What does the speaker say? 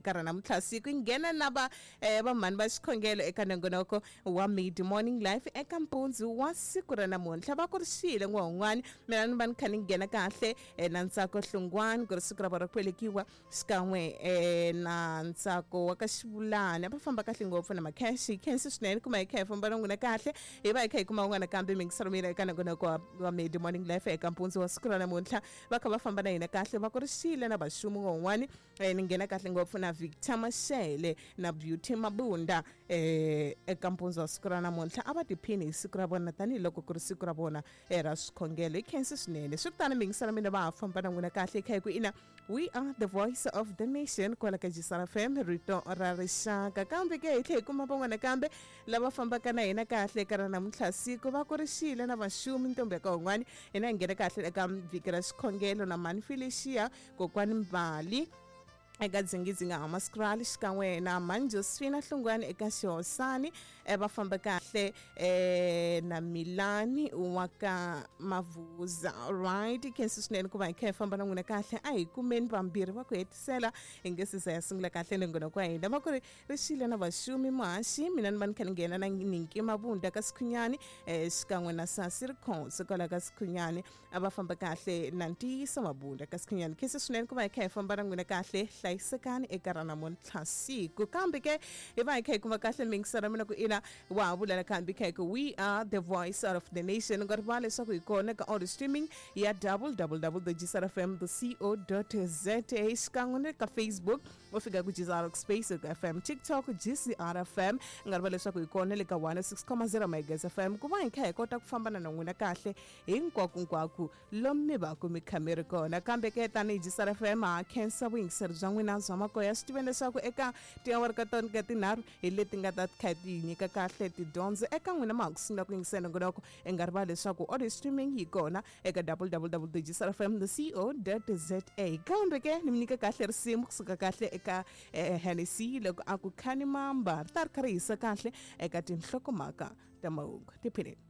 eka ra namuntlha siku. Hi nghena na va vamhani va xikhongelo eka nongonoko wa Mid Morning Life eka mpundzu wa siku ra namuntlha. Va kurisile n'wa un'wana, mina ni va ni kha ni nghena kahle na Ntsako Hlungwani ku ri siku ra vona ra ku velekiwa, xikan'we na Ntsako wa ka Xivulani. A va famba kahle ngopfu na Macash. Hi khensi swinene kuma hi kha hi famba na n'wina kahle, hi va hi kha hi kuma un'wana kambe mingiselo mina eka nongonoko wa Mid Morning Life eka mpundzu wa siku ra namuntlha. Va kha va famba na hina kahle, va kurisile na Vaxumu un'wana. Ni nghena kahle ngopfu na Victor Mashele na Beauty Mabunda eka mpundzu wa siku ra namuntlha. A va tiphini hi siku ra vona tanihiloko ku ri siku ra vona ra swikhongelo. Hi khensi swinene. Swi tano mingiselo mina va ha famba na n'wina kahle kha hi ku ina we are the voice of the nation kwala ka Jisara FM, rito ra rixaka. Kambe ke hi tlhe hi kuma van'wana kambe lava fambaka na hina kahle eka ra namuntlha siku. Va kurixile na Vaxumi ntombi ya ka un'wana. Hina hi nghena kahle eka vhiki ra xikhongelo na Mani Felicia, Kokwani Mbali eka Dzingidzinga Hammanskraal, xikan'we na Mani Josephina Hlungwani eka Xihosani. Va famba kahle na Milani wa ka Mavuza. Right, khensi swinene ku va hi kha hi famba na n'wina kahle. A hi kumeni vambirhi va ku hetisela hi nge se za ya sungula kahle nongonoko wa hina. Va ku ri rixile na Vaxumi Muhaxi, mina ni va ni kha ni nghena na Ninki Mabunda ka Sikhunyani, xikan'we na Sasi Rikhonso kwala ka Sikhunyani. A va famba kahle na Ntiyiso Mabunda ka Sikhunyani. Khensi swinene ku va hi kha hi famba na n'wina kahle. Hlayisekani eka ra namuntlha siku. Kambe ke hi va hi kha hi kuma kahle mingiselo mina ku ina wa ha vula nakambe kha hi ku we are the voice of the nation. U nga rivali leswaku hi kona ka audio streaming ya www.gsrfm.co.za, xikan'we na le ka Facebook u fika ku GCR Space, ku FM, TikTok GCR FM. U nga rivali leswaku hi kona le ka 106.0 Megahertz FM ku va hi kha hi kota ku fambana na n'wina kahle hinkwakunkwako lomu mi va ku mi kha mi ri kona. Kambe ke tanihi GCR FM ha khensa vuyingiseri bya n'wina bya makoya. Swi tiveni leswaku eka tiawara ka tona ka tinharhu hi leti nga ta kha ti nyika kahle tidyondzo eka n'wina ma ha ku sungula ku yingisela nongonoko. I nga rivali leswaku audio streaming yi kona eka www.gsrfm.co.za. Kambe ke ni mi nyika kahle risimu kusuka kahle eka Hennessy loko a ku Khani Mamba, ri ta ri kha ri hisa kahle eka tinhlokomhaka ta mahungu. Tiphineni.